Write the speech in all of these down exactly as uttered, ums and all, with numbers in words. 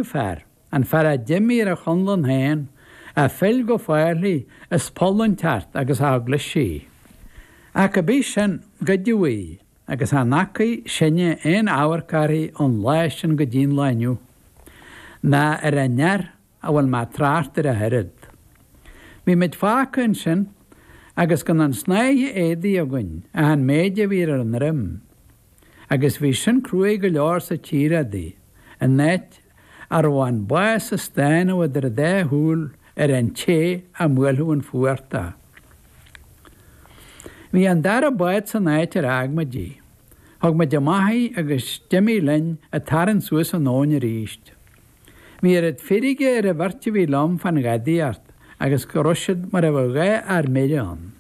fear, an fear a d'imigh ar a chonlán féin, a phill go Fairlie is poll inteacht agus a thug leis í. Ach cibé sin, goideadh í, agus chan fhacaidh sinne aon amharc uirthi ón lá sin go dtí'n lá inniu, ná ar an fhear a bhfuil mé ag trácht air ach oiread. Bhí muid fágtha ansin agus gan an snáithe éadaigh againn ach an méid a bhí ar ár ndroim, agus bhí sin cruaidh go leor sa tír adaí, in áit a raibh an bás ag stánadh idir an dá shúil ar an té a mbuailfeadh an fuacht dó. Bhí an dara bád san áit ar fhág muid í. Thug muid amach í agus d'imigh linn ag tarraingt suas an abhainn arís. Bhí oiread feirge ar an bheirt a bhí liom fán ghadaíocht agus go raibh siad mar a bheadh dhá fhear mire ann.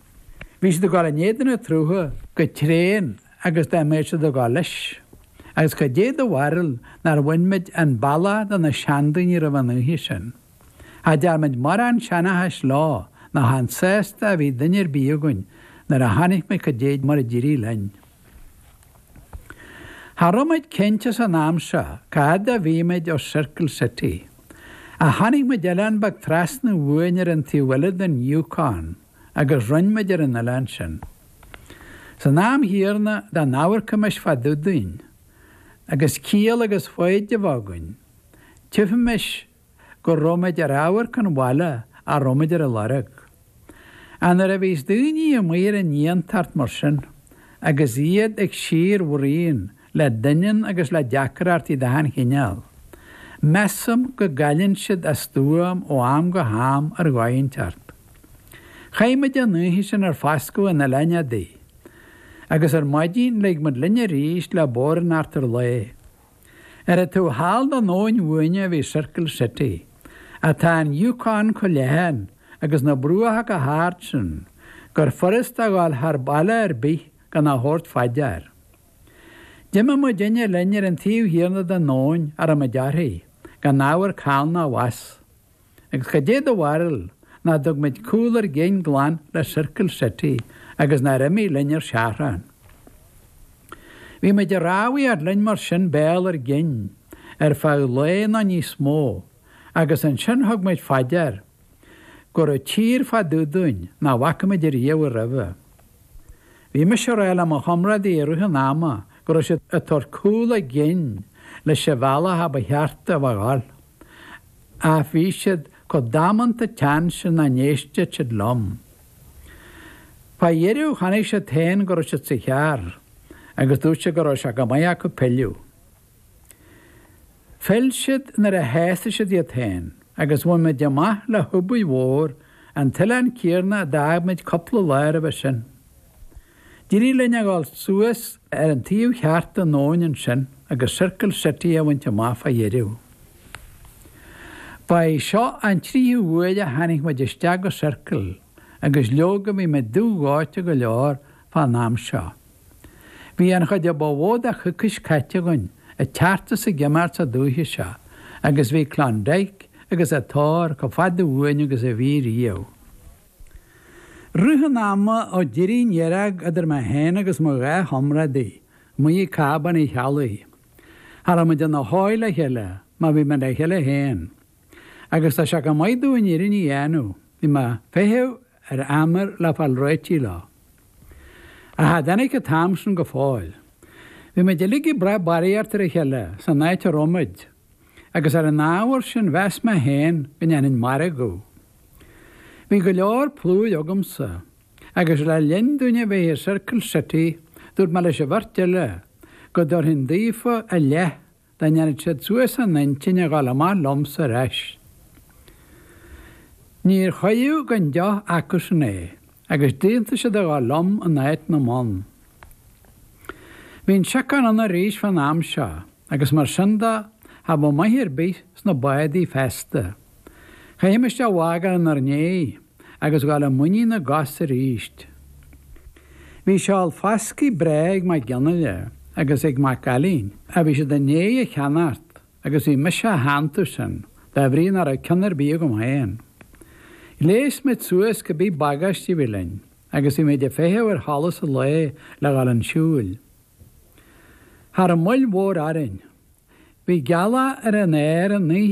Bhí siad ag dul in éadan an tsrutha go tréan agus dá mbeadh siad ag dul leis. Agus cad é do bharúil nár bhain muid an bealach de na seandaoine roimh an oíche sin. Cha dtearn muid morán seanchais leo ná chan sásta a bhí duine ar bith againn nuair a chonaic muid cad é mar a d'éirigh linn. Cha raibh muid cinnte san am seo cá fhad a bhí muid ó Circle City. Ach chonaic muid oileán beag trasna uainn ar an taobh eile den Yukon agus rinn muid ar an oileán sin. San am chéanna dá n-amharcaimis fá dtaobh dúinn, agus ciall agus foighid a bheith againn, tchífimis go raibh muid ar amharc an bhaile a raibh muid ar a lorg. Ach nuair a bhíos daoine amuigh ar an fhiántacht mar sin, agus iad ag síorbhruíon le doineann agus le deacrachtaí d'achan chineál, measaim go gcailleann siad a stuaim ó am go ham ar dhóigh inteacht. Chaith muid an oíche sin ar foscadh an oileáin adaí, agus ar maidin lig muid linn arís le bóthar in eachtar lae. Ar an taobh thall den abhainn uainne a bhí Circle City, ach tá an Yukon chomh leathan agus na bruacha chomh hard sin gur furasta a ghabháil thar baile ar bith gan a thabhairt fá dear. D'imigh muidinne linn ar an taobh chéanna den abhainn a raibh muid uirthi, gan amharc thall ná abhus. Agus cad é do bharúil nach dtug muid cúl ár gcinn glan le Circle City agus nár imigh linn ar seachrán. Bhí muid ag rámhaíocht linn mar sin béal ár gcinn ar feadh lae nó níos mó agus ansin thug muid fá dear go raibh tír fá dtaobh dúinn nach bhfaca muid ariamh roimhe. Bhí mise ag rá le mo chomrádaí i rith an ama go raibh siad ag tabhairt cúl a gcinn leis an bhealach a ba cheart a bheith ag gabháil. Ach bhí siad chomh damanta teann sin nach n-éisteadh siad liom. Fá dheireadh chonaic siad féin go raibh siad sa chearr agus dúirt siad go raibh sé go maith acu pilleadh. Phill siad nuair a shásaigh siad iad féin agus bhain muid amach le hubaidh mhór an t-oileán céanna a d'fhág muid cúpla lá roimhe sin. D'éirigh linn a dhul suas ar an taobh cheart den abhainn ansin agus Circle City a bhaint amach fá dheireadh. Ba é seo an tríú huair a tháinig muid isteach go Circle agus leoga bhí muid dubh-dhóite go leor fán am seo. Bhí an chuid a ba mhó de choicís caite againn ag teacht is ag imeacht sa dúiche seo agus bhí Klondike agus a tóir chomh fada uainn agus a bhí riamh. Rith an ama ó d'éirigh an fhearg idir mé féin agus mo dhá chomrádaí amuigh ag Cábán Uí Cheallaigh. Cha raibh muid ina dhóigh le chéile má bhí muid le chéile féin. Agus tá sé go maith domh an fhírinne a dhéanamh, bhí mé ag feitheamh ar Emer le fáil réitigh leo. Ach cha dtáinig an t-am sin go fóill. Bhí muid uilig ag brath barraíocht ar a chéile san áit a raibh muid, agus ar an ábhar sin mheas mé féin go ndéanfainn margadh. Bhí go leor plúir agamsa, agus le linn dúinn a bheith i Circle City dúirt mé leis an bheirt eile go dtabharfainn daofa a leath dá ndéanfadh siad suas a n-intinn a dhul amach liomsa ar ais. Níor chuireadh gan deoch acusan é, agus d'aontaigh siad a dhul liom in áit na mbonn. Bhí an siocán ann arís fán am seo, agus mar sin de, cha bheadh maith ar bith sna bádaí feasta. Chaithimis a bhfágáil inár ndiaidh agus dhul i muinín na gcos arís. Bhí seol foscaidh breá ag Mac Fhionnghaile agus ag Mac Ailín, a bhí siad i ndiaidh a cheannacht agus bhí mise a theannta sin, dá bhrí nach raibh ceann ar bith agam féin. Ghléas muid suas cibé bagáiste a bhí linn agus bhí muid ag feitheamh ar sholas an lae le dhul chun siúil. Cha raibh moill mhór orainn. Bhí gealach ar an aer an oíche